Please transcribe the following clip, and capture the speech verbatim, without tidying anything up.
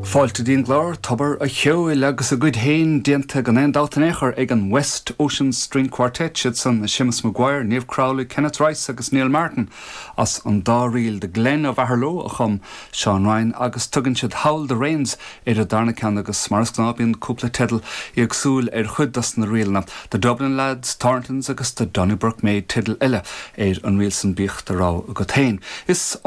Fáilte dtí'n gclár Tobar an Cheoil agus a gcuid féin déanta gan aon dabht in aon chor ag an West Ocean String Quartet siad san Seamus Maguire, Niamh Crowley, Kenneth Rice agus Neil Martin as an dá ríl The Glen of Aherlow a chum Seán Ryan agus tugann siad Howl the Rains ar an darna ceann agus mar is gnáth bíonn cúpla teideal éagsúil ar chuid dos na ríleanna. The Dublin Lads, Thorntons agus the Donnybrook Maid teideal eile ar an ríl san bíodh do rogha agat féin. Is